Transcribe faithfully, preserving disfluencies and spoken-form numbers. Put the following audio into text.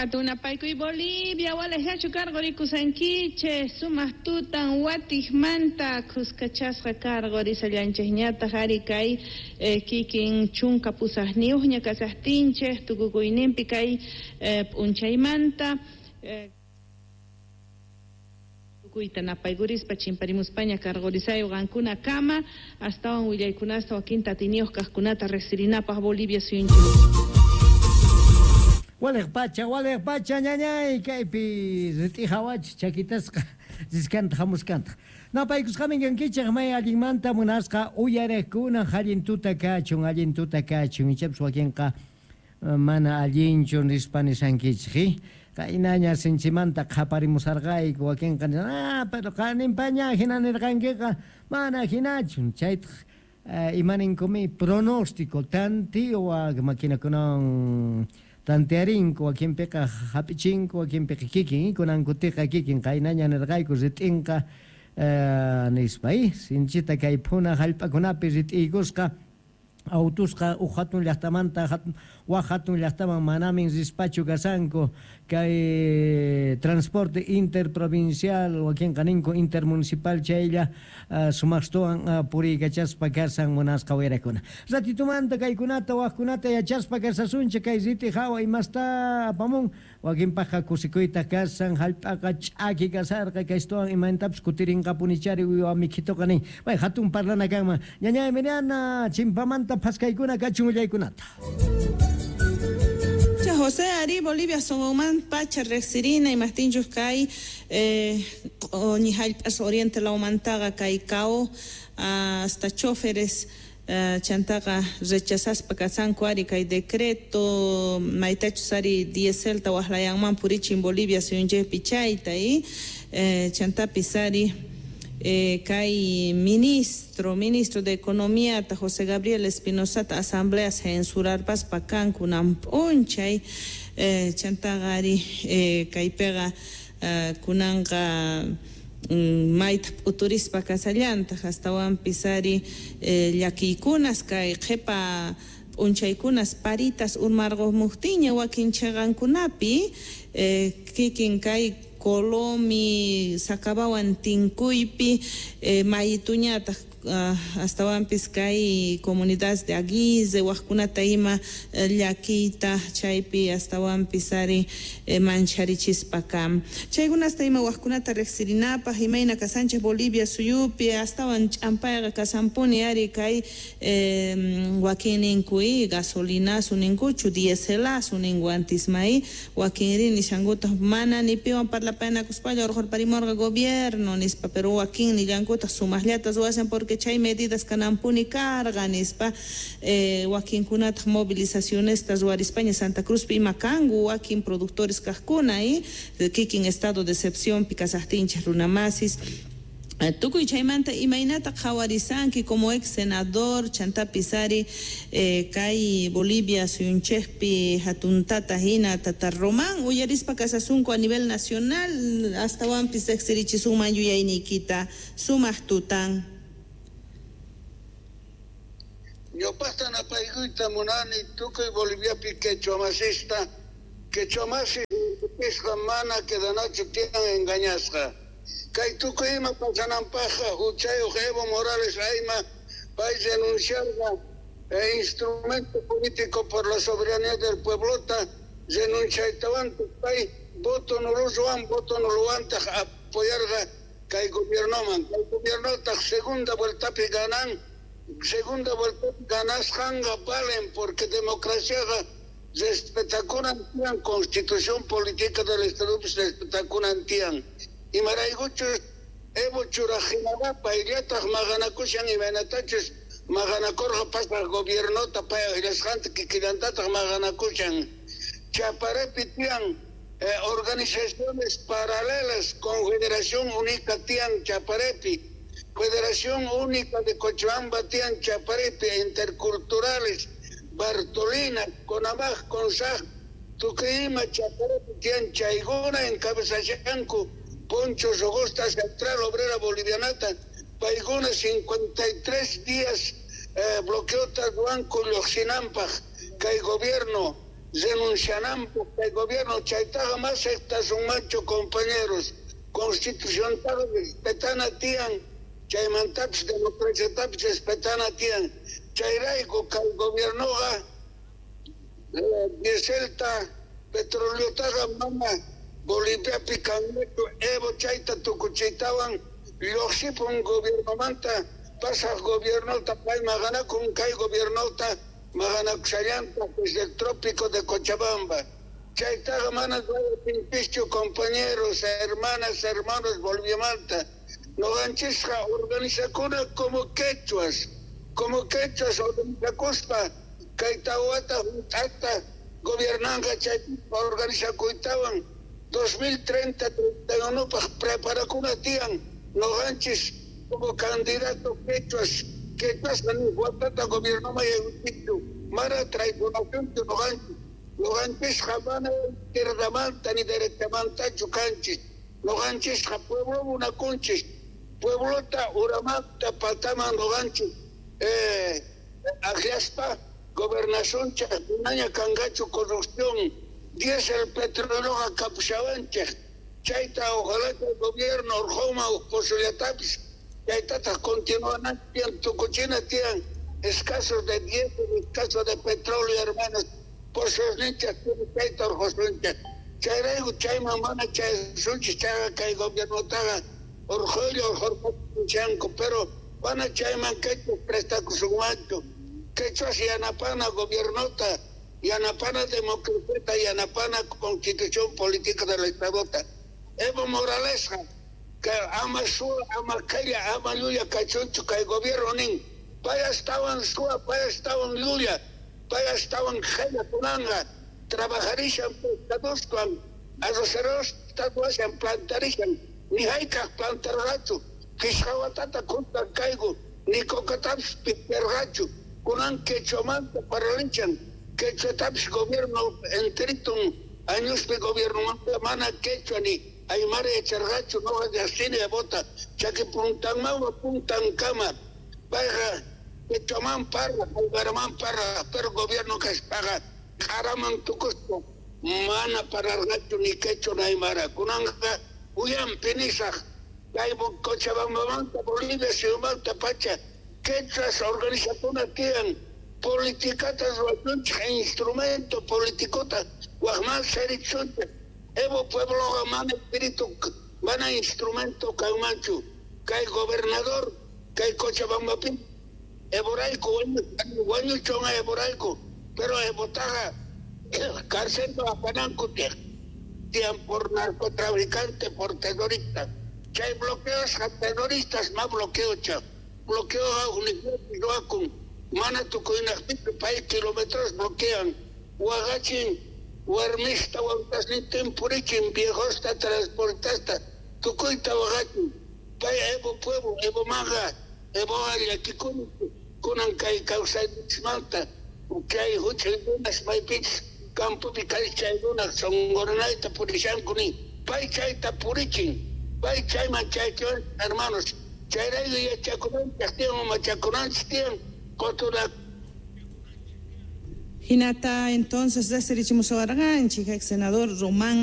Hatunapaykuy Bolivia, walejllachu karqurikusankichej, sumaq tutan watijmanta khuskachasqa karqurisallanchejñataq ari kay eh, kikin chunka pusaqniyuqña kasaqtinchej tukukuyninpi kay eh, p'unchaymanta eh, tukuyta napaykurispa chimparimuspaña karqurisayo qankuna kama astawan willaykunasta wakinta atiniyuq kaqkunata riqsirinapaq Bolivia suyunchik. Walej pacha, walej pacha, ñañay, kaypi rit'ijawach chakitasqa riskanta hamuskanta. Napaykusqamin kankichej may allinmanta munasqa uyariqkuna allin tuta kachun, allin tuta kachun, ichapis wakinqa mana allinchu nispa nisankichej. Qaynaña sinchimanta qhaparimusarqayku wakinqa ah, pero qaninpaña hina nirqankiqa mana hinachu, chaytaq imaninkumi pronóstico tantiwa maquinakunan tantearinku wakinpiqa hap'ichinku wakinpiqa kikin kunankutiqa kikin qaynaña nirqayku rit'inqa nispa sinchita kay phuna hallp'akunapi rit'iykusqa autusqa uj hatun llaqtamanta waj hatun llaqtaman manamin rispachu kasanku kay transporte interprovincial wakinqa ninku intermunicipal chaylla sumaqstuwan puriykachaspa kasan munasqa wayrakuna. Ratitumanta kaykunata wajkunata yachaspa kasasunchik kay riti hawa imasta apamun wakinpaqqa kusikuyta kasan hallp'aqa ch'aki kasarqa kaystuwan imantapis kutirinqapunichari uywa mikhituqa nin may hatun parlana kanman ñañay Miriana chimpamanta phaskaykuna kachun willaykunata. José Ari, Bolivia songoman pacha riqsirina imaqtinchus kay eh, q'uñi oriente lawmantaqa kay Cao hasta choferes eh, chantaqa rechazaspa kasanku ari kay decreto maytachus ari dieselta waqlayanman purichin Bolivia suyunchikpi chayta y eh, chantapis ari Eh, kay ministro, ministro de Economía, José Gabriel Espinosa, asamblea censurarpaspa kanku p'unchay eh, chantaqa ari eh, kaypiqa eh, kunanqa mm, mayta p'uturispa kasallantaq astawanpis ari eh, llakiykunas kay qhipa p'unchaykunas paritas urmarqumuqtiña wakin chhiqankunapi eh, kikin kay Colomi, Sacabawan tinkuypi, eh, mayituñataq uh, astawanpis kay comunidad de Aguize, wajkunata ima eh, llakiyta chaypi astawanpis ari eh, mancharichispa kam. Chaykunasta ima wajkunata riqsirinapaq imayna kasanchik Bolivia suyupi astawan ch'ampayqa kasanpuni ari kay eh, wakin ninku gasolinasu ninkuchu dieselasu ninku antismay wakinri nishankutaq mana ni piwan parlapaynakuspalla urqurparimurqa gobierno nispa pero wakin nillankutaq sumaqllata ruwashan porque chay medidas kanampuni karqa nispa eh, wakinkunataq movilizacionesta ruwarispaña Santa Cruzpi ima kanku wakin productores kaqkuna y kikin estado de excepción pi kasaqtinchik runamasis. Tukuy chaymanta imaynata qhawarisanki como ex senador chantapis ari eh, kay Bolivia suyunchikpi hatuntata hina tata Román uyarispa kasasunku a nivel nacional astawanpis riqsirichisunman yuyayniykita sumaq tutan. Ñawpaqta napaykuyta munani tukuy Boliviapi quechuamasista quechuamasi pisqa mana quedanachu tiyan engañasqa. Kay tukuy ima pasananpaqqa huchayuq Evo Morales ayma pay renunciarqa eh, instrumento político por la soberanía del pueblota renunciaytawantaj pay voto nuruwan voto nuluwantaq apoyarqa kay gobiernoman kay gobiernotaq segunda vueltapi ganan segunda vuelta ganasqanqa valen porque democraciaqa respetakunan tiyan constitución política del Estado respetakunan tiyan. Imaraykuchus Evo churajinaqa payllataq maqanakushan imaynatachus maqanakurqa pasaq gobiernota pay aqllasqanta kikillantataq maqanakushan. Chaparepi tiyan eh, organizaciones paralelas Confederación Única tiyan Chaparepi, Federación Única de Cochabamba tiyan Chaparepi, interculturales, Bartolina, Conamaj, Consaj, Tukuy ima Chaparepi tiyan chaykuna encabezashanku Poncho Rogosta, Central Obrera Bolivianata, paykuna cincuenta y tres días eh, bloqueota ruwanku lluqsinampaq kay gobierno Renunciananpaq kay gobierno chaytaqa mas aceptasunmanchu compañeros. Constituciontaqa respetana tiyan, chaymantapis democraciatapis respetana tiyan. Chayrayku kay gobiernoqa dieselta, petroleotaqa mana Boliviapi kanñachu. Evo chayta tukuchiytawan lluqsipun gobiernomanta, pasaq gobiernota pay maqanakun, kay gobiernota maqanakushallantaq desde el trópico de Cochabamba. Chaytaqa mana ruwatinpischu, compañeros, hermanas, hermanos Boliviamanta. Noqanchisqa organizakuna como quechuas, como quechuas organizakuspa kay tawata hunt'ata gobiernanqa chay organizakuytawan dos mil treinta treinta y uno paq preparakuna tiyan noqanchis como candidato quechuas, quechuasqa ni watata gobiernoman yaykuchichu, mana traicionacionchu noqanchis. Noqanchisqa mana izquierdamanta ni derechamantachu kanchis. Noqanchisqa pueblo munakunchis, pueblota uramanta pataman noqanchis eh, akllaspa gobernacionchej manaña kanqachu corrupción, diésel petroleoqa kapushawanchej. Chayta ojalá que el gobierno urqhuma uqpushallatapis chaytataq continuanan tiyan, tukuchina tiyan escasos de diésel, escasos de petróleo, hermanos, pozosninchej chayta urqusunchej. Chayrayku chayman mana chayasunchis, chayqa kay gobiernotaqa urqhuylla urqhurqapunchanku, pero mana chayman quechuas prestakusunmanchu. Quechuas yanapana gobiernota, yanapana democraciata, yanapana constitución política del Estadota. Evo Moralesqa que ama suwa, ama qhella, ama llulla kachunchu kay gobierno nin. Pay astawan suwa, pay astawan llulla, pay astawan qhella kunanqa. Trabajarishan pescadoswan, arrocerosta ruwashan, plantarishan, ni hayk'aq plantarqachu. Qhishqa watata kuntan kayku, ni cocatapis piperqachu. Kunan quechuamanta parlanchan, quechuatapis gobierno enteritun añospi gobiernomanta mana quechua ni aymara yacharqachu, noqa llaqsini Evota, chaki puntanmawa puntankama. Payqa quechuaman parla, aymaraman parla, pero gobierno kaspaqa q'araman tukuspa mana parlarqachu ni quechua ni aymara. Kunanqa uyanpi nisaq kay Cochabambamanta Bolivia suyumanta pacha quechuas organizakuna tiyan, politikata ruwasunchik, instrumento politikota waqman sarichunchik. Evo puebloqa mana espíritu, mana instrumento kanmanchu. Kay gobernador, kay Cochabambapi, Evorayku wañuchun Evorayku, pero Evotaqa cárcel apananku tiyan por narcotraficante, por terrorista. Chay bloqueos a terroristas ma bloqueo cha. Bloqueo a ruwakun, mana tukuynaqpichu pay kilómetros bloquean. Waqachin warmista wawtasnintin purichin, viejosta transportasta, tukuyta waqachin. Pay Evo pueblo, Evo manga, Evo llakikuni kunan kay kawsayninchikmanta, kay huchay runas maypichus campopi kay chay runas sonqoranayta purishanku nin. Pay chayta purichin, pay chayman chaychiwan, hermanos. Chayrayku yachakunanchik tiyan, machakunanchik tiyan, qotura. Hinata entonces deserichimusawarqanchik ex senador Román